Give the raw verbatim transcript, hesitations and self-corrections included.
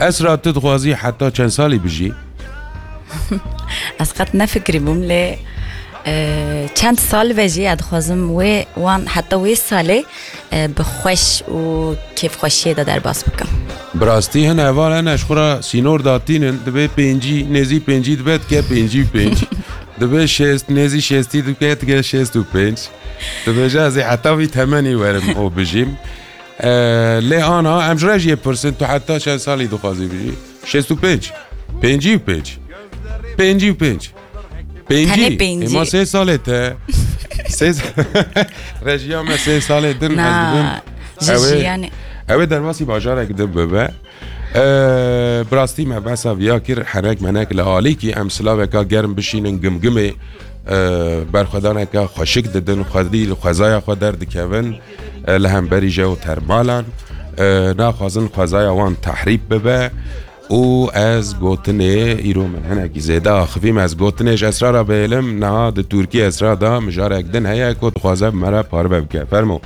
Esra, tu dixwazî heta çend salî bijî? Ez qet nefikirîbûm lê e, çend sal ve jî ez dixwazim wê wan heta wê salê e, bi xweş û kêfxweşiyê de derbas bikim. Bi rastî hin heval hene ji xwe re sînor datînin, dibê pêncî, nêzî pêncî dibe dike pêncî û pênc. Dibê şêst, nêzî şêstî dike dike şêst û pênc. Dibêje ez ê heta vî temenî werim û bijîm. E, lê ana em ji re jî yê pirsin, tu heta çend salî dixwazî bijî? Şêst û pênc. Pêncî û pênc. Pêncî û pênc. Pêncî. Tenê pêncî. Ema sê salê te. Sê rejiya me sê salê din ez dibim. Na, ji Ew ê- jiyanê. Ew ê derbasî bajarek din bibe. E, bi rastî me behsa viya kir, henek menek li alîkî em silaveka germ bişînin gimgimê, e, berxwedaneke xweşik didin, xwedî li xwezaya xwe derdikevin, e, li hemberî jeotermalan, e, naxwazin xwezaya wan tehrîb bibe. Û ez gotinê, îro min hinekî zêde axivîm, ez gotinê ji Esra re bihêlim, niha di Tirkî Esra de mijarek din heye ku dixwaze bi me re parve bike. Fermo.